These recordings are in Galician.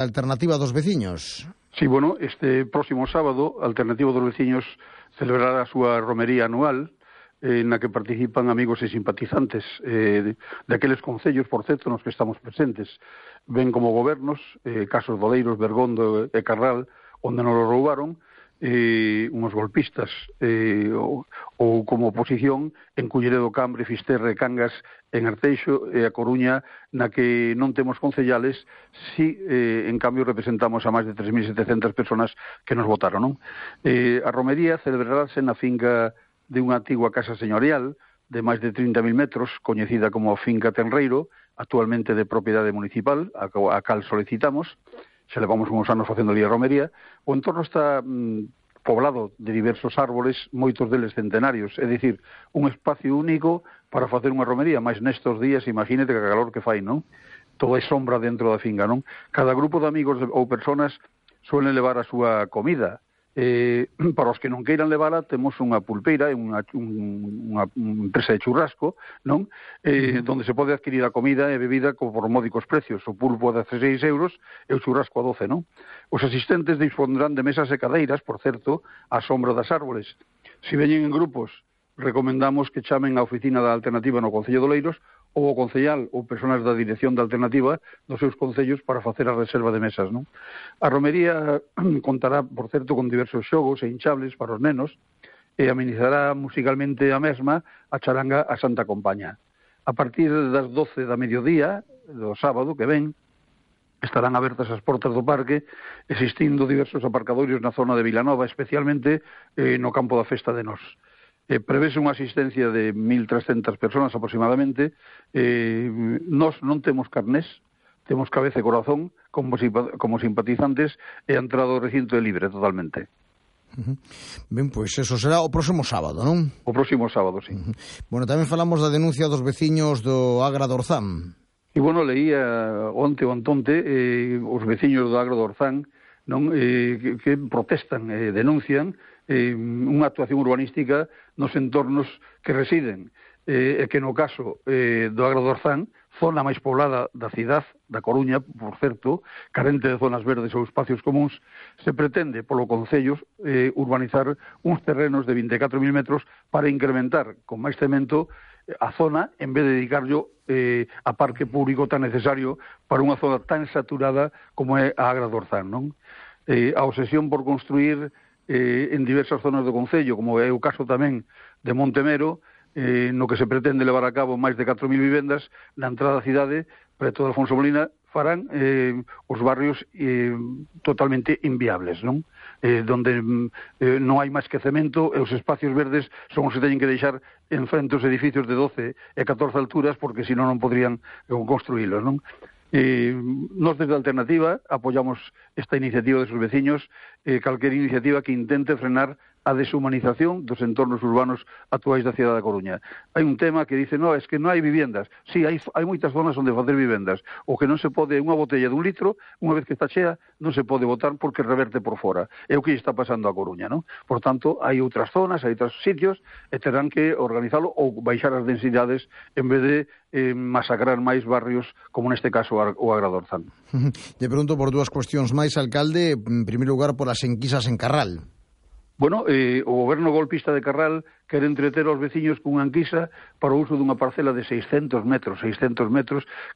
Alternativa dos Veciños. Sí, bueno, este próximo sábado, Alternativa dos Veciños celebrará a súa romería anual, na que participan amigos e simpatizantes daqueles concellos, por certo, nos que estamos presentes. Ven como gobernos, casos de Oleiros, Bergondo e Carral, onde nos lo roubaron, unhos golpistas, ou como oposición en Culleredo, Cambre, Fisterra e Cangas, en Arteixo e a Coruña, na que non temos concellales, si en cambio representamos a máis de 3.700 personas que nos votaron, non? A romería celebrarase na finca de unha antigua casa señorial de máis de 30.000 metros, coñecida como Finca Tenreiro, actualmente de propiedade municipal, a cal solicitamos. Xa levamos uns anos facendo ali a romería. O entorno está poblado de diversos árboles, moitos deles centenarios, é dicir, un espacio único para facer unha romería, máis nestos días, imagínate que calor que fai, non? Todo é sombra dentro da finca, non? Cada grupo de amigos ou personas suelen levar a súa comida. Para os que non queiran levala, temos unha pulpeira, unha empresa de churrasco, non? Donde se pode adquirir a comida e bebida por módicos precios. O pulpo a 16 euros e o churrasco a 12, non? Os asistentes dispondrán de mesas e cadeiras, por certo, á sombra das árboles. Se veñen en grupos, recomendamos que chamen á oficina da Alternativa no Concello de Oleiros ou o concellal ou persoas da dirección da Alternativa dos seus concellos para facer a reserva de mesas, non? A romería contará, por certo, con diversos xogos e hinchables para os nenos e amenizará musicalmente a mesma a charanga a Santa Compaña. A partir das 12 da mediodía do sábado que ven, estarán abertas as portas do parque, existindo diversos aparcadorios na zona de Vilanova, especialmente no campo da Festa de Nós. Prevese unha asistencia de 1.300 personas aproximadamente. Nós non temos carnés, temos cabeza e corazón como simpatizantes, e a entrada ao recinto é libre totalmente. Ben, pois eso será o próximo sábado, non? O próximo sábado, sí. Bueno, tamén falamos da denuncia dos veciños do Agra do Orzán. E, bueno, leía onte ou antonte os veciños do Agra do Orzán, non, que protestan e denuncian unha actuación urbanística nos entornos que residen, e que no caso do Agra do Orzán, zona máis poblada da cidade da Coruña, por certo, carente de zonas verdes ou espacios comuns, se pretende polo Concello urbanizar uns terrenos de 24.000 metros para incrementar con máis cemento a zona, en vez de dedicarlo a parque público tan necesario para unha zona tan saturada como é a Agra do Orzán, non? A obsesión por construir en diversas zonas do Concello, como é o caso tamén de Montemero, no que se pretende levar a cabo máis de 4.000 vivendas na entrada da cidade, preto de Alfonso Molina, farán os barrios totalmente inviables, non? Donde non hai máis que cemento e os espacios verdes son os que teñen que deixar en frente os edificios de 12 e 14 alturas, porque senón non podrían construílos, non? Nós desde a Alternativa apoyamos esta iniciativa de sus veciños, calquer iniciativa que intente frenar a deshumanización dos entornos urbanos actuais da cidade da Coruña. Hai un tema que dice, no, es que non hai viviendas. Sí, hai moitas zonas onde facer vivendas. O que non se pode, unha botella de 1 litro, unha vez que está chea, non se pode botar porque reverte por fora. É o que está pasando a Coruña, non? Por tanto, hai outras zonas, hai outros sitios, e terán que organizalo ou baixar as densidades en vez de masacrar máis barrios, como neste caso o Agra do Orzán. Te pregunto por dúas cuestións máis, alcalde. En primeiro lugar, por as enquisas en Carral. Bueno, o goberno golpista de Carral quere entreter aos veciños cunha enquisa para o uso dunha parcela de 600 metros,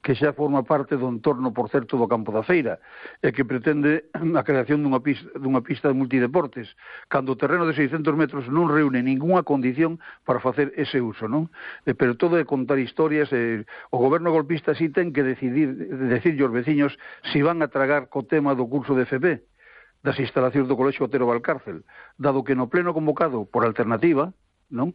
que xa forma parte do entorno, por certo, do campo da feira, e que pretende a creación dunha pista de multideportes, cando o terreno de 600 metros non reúne ningunha condición para facer ese uso, non? Pero todo é contar historias, o goberno golpista sí ten que decirlle aos veciños si van a tragar co tema do curso de FP, das instalacións do Colexio Otero Valcárcel, dado que no pleno convocado por Alternativa non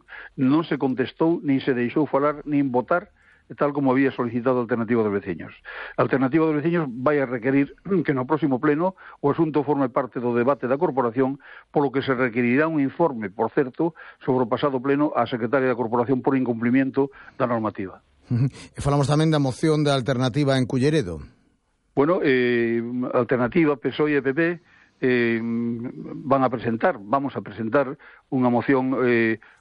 se contestou, nin se deixou falar, nin votar, tal como había solicitado a Alternativa dos Veciños. A Alternativa dos Veciños vai a requerir que no próximo pleno o asunto forme parte do debate da corporación, polo que se requerirá un informe, por certo, sobre o pasado pleno á secretaria da corporación por incumplimiento da normativa. E falamos tamén da moción da Alternativa en Culleredo. Bueno, Alternativa, PSOE e PP vamos a presentar unha moción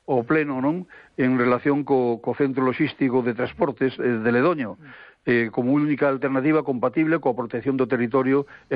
ao pleno, non, en relación co centro logístico de transportes de Ledoño. como única alternativa compatible coa protección do territorio e